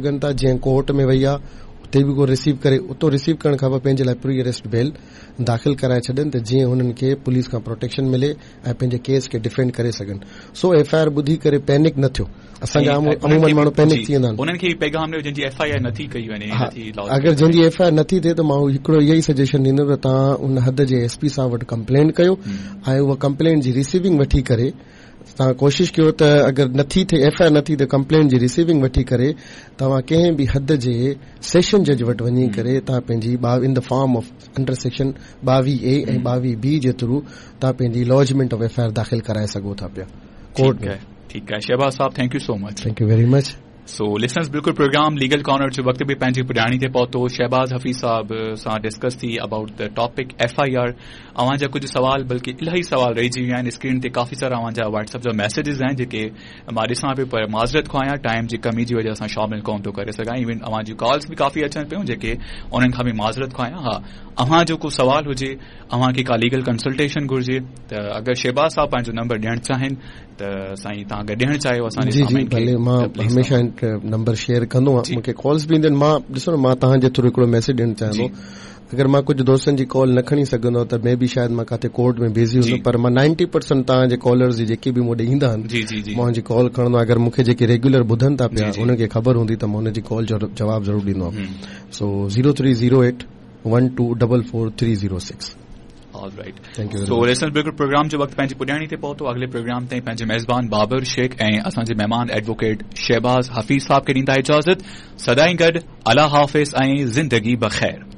سگهن ٿا جيئن ڪورٽ ۾ وئي آ اتي به ڪو رسيو ڪري اتو رسيو ڪرڻ کان پوء پنهنجي لاء پري اريسٽ بيل داخل ڪرائي ڇڏن ته جيئن هنن کي پوليس کان پروٽيڪشن ملي ۽ پنهنجي ڪيس کي ڊفينڊ ڪري سگهن سو ايف I R ٻڌي ڪري پينڪ نه ٿيو اسان جا عمومن ماڻهو پينڪ ٿي ويندا آهن انهن کي پيغام ڏيو جن جي ايف I R نٿي ڪئي وڃي نٿي اگر جن جي ايف I R نٿي ٿئي ته مان هڪڙو اهو ئي سجيشن ڏيندم ته توهان ان حد جي ايس پي صاحب وٽ ڪمپلين ڪيو ۽ اها ڪمپلين جي رسيونگ وٺي ڪري توهان ڪوشش ڪيو ته اگر نٿي ٿئي ايف I R نٿي ته ڪمپلينٽ جي رسيونگ وٺي ڪري توهان ڪنهن به حد جي سيشن جج وٽ وڃي ڪري توهان پنهنجي in the form of under section 22 A ۽ 22 B جي ٿرو توهان پنهنجي لاجمينٽ آف ايف I R داخل ڪرائي سگهو ٿا پيا ڪورٽ ۾. ٺيڪ آهي شهباز صاحب thank you so much. Thank you very much. So listeners بلڪل پروگرام ليگل ڪارنر جو وقت به پنهنجي پڄاڻي تي پهتو شهباز حفيظ صاحب سان ڊسڪس ٿي about the topic F I R اوهان جا ڪجهه سوال بلڪه الاهي سوال رهجي ويا آهن اسڪرين تي ڪافي سارا اوهان جا واٽس اپ جا ميسيجز آهن جيڪي مان ڏسان پيو پر معذرت خواهه آهيان ٽائيم جي ڪمي جي وجه سان شامل ڪون ٿو ڪري سگهان ايون اوهان جون ڪالز به ڪافي اچن پيون جيڪي انهن کان به معذرت خواهه آهيان ها اوهان جو ڪو سوال هجي اوهان کي ڪا ليگل ڪنسلٽيشن گهرجي ته اگر شهباز صاحب پنهنجو نمبر ڏيڻ چاهين ته سائين توهان اگر ڏيڻ چاهيو اسان جي جي ڀلي مان هميشه نمبر شيئر ڪندو آهيان مون کي ڪالز به اينديون آهن مان ڏسو نه مان توهان جي ٿرو هڪڙو ميسيج ڏيڻ چاهيان ٿو اگر مان ڪجهه دوستن جي ڪال نه کڻي سگهندو آهيان ته مي بي شايد مان ڪاٿي ڪورٽ ۾ بزي هوندم پر مان نائنٽي پرسنٽ توهان جي ڪالرز جي جيڪي به مون ڏي ايندا آهن مان انهن جي ڪال کڻندو آهيان اگر مون کي جيڪي ريگيولر ٻڌن ٿا پيا انهن کي خبر هوندي ته مان انهن جي ڪال جو جواب ضرور ڏيندو آهيان سو zero three zero eight one two double four three zero six all right so listeners بلڪل پروگرام جو وقت پنهنجي پڄاڻي تي پهتو اڳلي پروگرام تائين پنهنجي ميزبان بابر شيخ ۽ اسان جي مهمان ايڊووڪيٽ شهباز حفيظ صاحب کي ڏيندا اجازت سدائين گڏ الله حافظ ۽ زندگي بخير.